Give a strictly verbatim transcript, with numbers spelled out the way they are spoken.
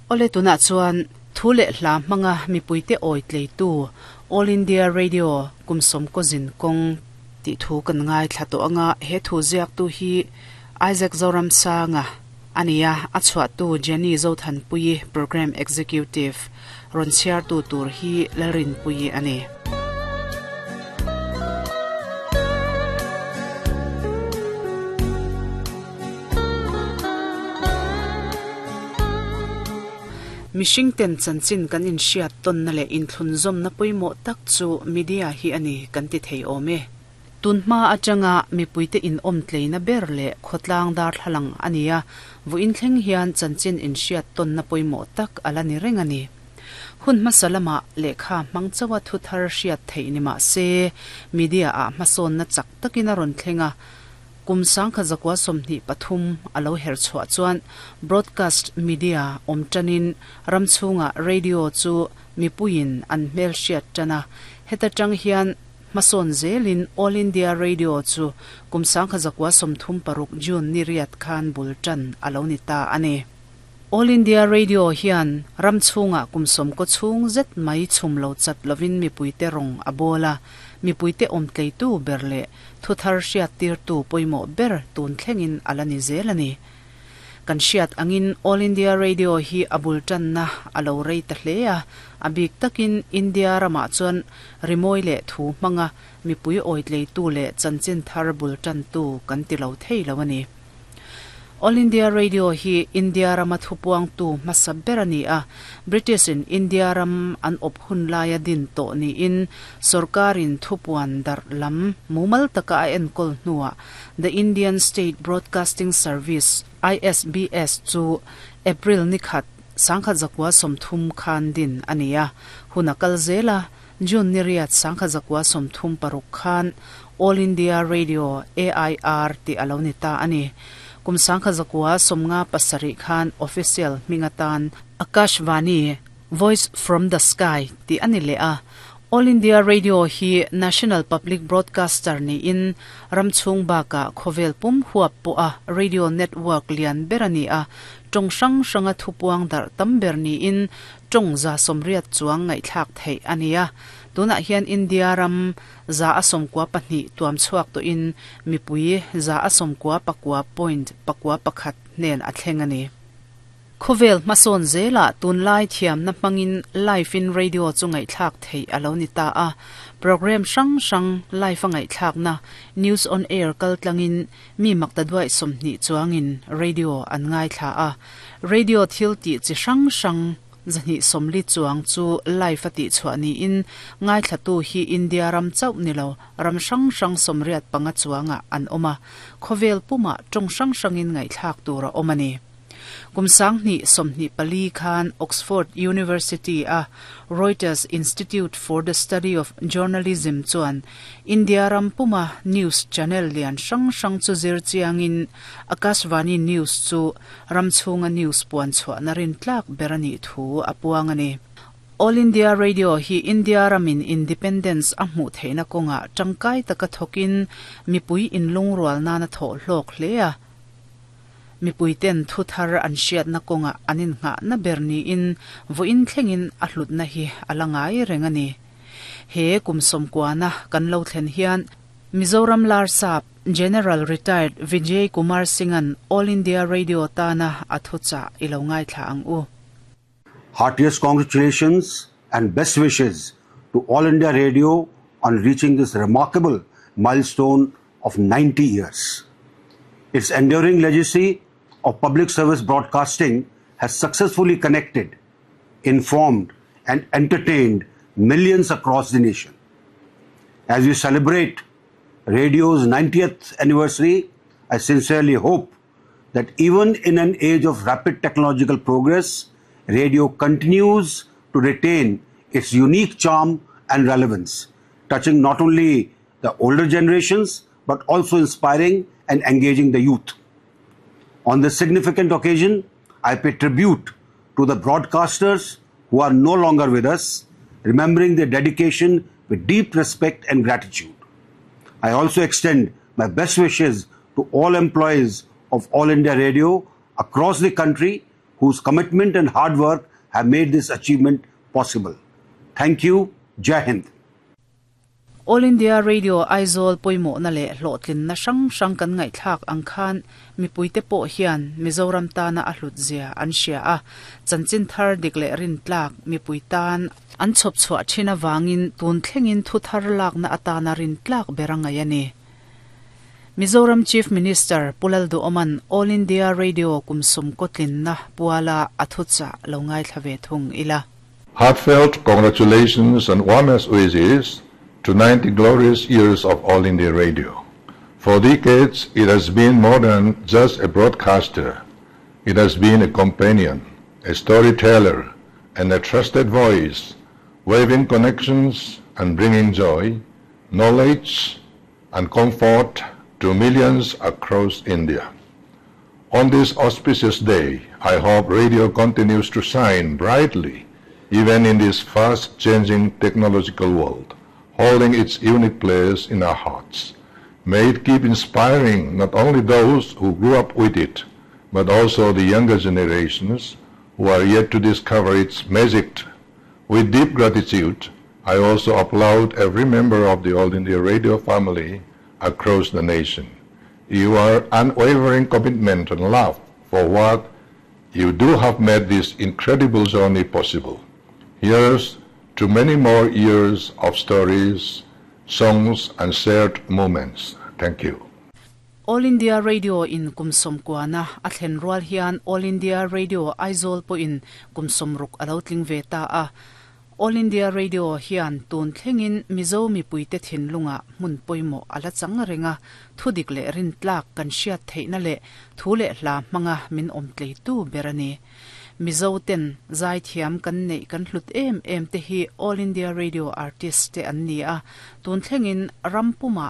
Ole tuna chuan thu le hla hmanga mipuite oi tleitu All India Radio kumsom ko zin kong ti thu kan ngai thla to anga he thu ziak tu hi Isaac Zoram Sanga ania a chhuah tu Jenny Zothan Pui Program Executive ron chiar tu tur hi Lalrin Pui ani. Mishing ten chanchin kan in hriat ton na le in thlun zom na poimo tak chu media hi ani kan ti thei ome. Tunhma atanga mipuite in om tleina ber le khotlang dar thlalang ania vu in thleng hian chanchin in hriat ton na poimo tak ala ni reng ani. Hun masalama lekha mangchawa thu thar hriat thei ni ma se media a hmasawn na chak takina ron thlenga kumsang kha zakwa somni pathum alo her chhuwa chuan broadcast media omtanin ramchunga radio chu mipuin an hmel hriat tana heta tang hian mason zelin All India Radio chu kumsang kha zakwa somthum paruk June ni riat khan bultan alo ni ta ani. All India Radio hian ramchunga kumsom ko chung zet mai chumlo chat lovin mipuite rong abola mipuite omtleitu berle thuthar hriat tir tu poimo ber tun thlengin alani zelani. Kan hriat angin All India Radio hi abul tan na alo rei ta hlea abik takin India rama chuan rimoi le thu hmanga mipui oitlei tu le chanchin thar bul tan tu kan ti lo thei lo ani. All India Radio hi India rama thupuang tu hmasa ber ani a British in India ram an op hun laia din to ni in sarkarin thupuan dar lam mumal taka a enkol hnuah The Indian State Broadcasting Service I S B S chu April nikhat sangkha zakwa somthum khan din ania hunakal zela June niriat sangkha zakwa somthum paruk khan All India Radio A I R ti alonita ani. Kumsangkha zakwa somnga pasari khan official mingatan Akashvani Voice from the Sky ti ani le a. All India Radio hi National Public Broadcaster ni in ramchung baka khovel pum huap po a radio network lian berani a tong sang sanga thupuang dar tamber ni in tong za somriat chuang ngai thlak thei ania. Tuna hian India ram za asom kwa pahnih tuam chuak to in mipui za asom kwa pakwa point pakwa pakhat nen a thleng ani. Khovel mason zela tunlai thiam na hmangin live in radio chu ngai thlak thei alo ni ta a program sang sang live a ngai thlak na news on air kal tlangin mi makta duai somni chuangin radio an ngai thla a radio thil ti chi sang sang zani somli chuang chu live ati chuani in ngai thlatu hi India ram chau nilo ram sang sang somriat panga chuanga an oma khovel puma tong sang sangin ngai thlak tura omani. Kumsang ni somni pali khan Oxford University a Reuters Institute for the Study of Journalism chuan India ram puma news channel lian sang sang chu zir chiangin Akashvani News chu ramchunga news puan chhuah narin tlak berani thu apuang ani. All India Radio hi India ramin independence a hmuh theihna kawnga tangkai taka thokin mipui inlungrual nana thaw hlawk hle a. Mipui ten thu thar an hriat na kawnga anin ngah na ber ni in vuin thlengin a hlut na hi alangai reng ani. He kumsom kuana kan lo thlen hian Mizoram Larsap General Retired Vijay Kumar Singhan All India Radio tana athucha ilo ngai thla ang u. Heartiest congratulations and best wishes to All India Radio on reaching this remarkable milestone of ninety years. Its enduring legacy of public service broadcasting has successfully connected, informed and entertained millions across the nation. As we celebrate radio's ninetieth anniversary, I sincerely hope that even in an age of rapid technological progress, radio continues to retain its unique charm and relevance, touching not only the older generations but also inspiring and engaging the youth. On this significant occasion, I pay tribute to the broadcasters who are no longer with us, remembering their dedication with deep respect and gratitude. I also extend my best wishes to all employees of All India Radio across the country whose commitment and hard work have made this achievement possible. Thank you. Jai Hind. All India Radio Aizawl pawimawhna leh hlawhtlinna hrang hrang kan ngaihthlak ang khan mipuite pawh hian Mizoram tana a hlut zia an hria a chanchin thar dik leh rin tlak mipui tan an chhawp chhuah thin awangin tun thlengin thu thar lakna atana rin tlak ber a ngai ani. Mizoram Chief Minister Pu Lalduhoma'n All India Radio kum sawmkaw tlinna puala a thuchah lo ngaithla ve thung ila. Heartfelt congratulations and warmest wishes to ninety glorious years of All India Radio. For decades, it has been more than just a broadcaster. It has been a companion, a storyteller, and a trusted voice, weaving connections and bringing joy, knowledge, and comfort to millions across India. On this auspicious day, I hope radio continues to shine brightly, even in this fast-changing technological world, holding its unique place in our hearts. May it keep inspiring not only those who grew up with it, but also the younger generations who are yet to discover its magic. With deep gratitude, I also applaud every member of the All India Radio family across the nation. Your unwavering commitment and love for what you do have made this incredible journey possible. Here's to many more years of stories, songs, and shared moments. Thank you. All India Radio in kum sawmkuana a thlen rual hian All India Radio Aizawl pawhin kum sawmruk a lo tling ve ta a. All India Radio hian tun thlengin Mizo mipuite thinlunga hmun pawimawh a la chang renga thudik leh rin tlak kan hriat theihna leh thu leh hla hmanga min awm tleitu ber a ni. Mizo ten zai thiam kan neih kan hlut em em te hi All India Radio artist te an ni a tun thlengin rampuma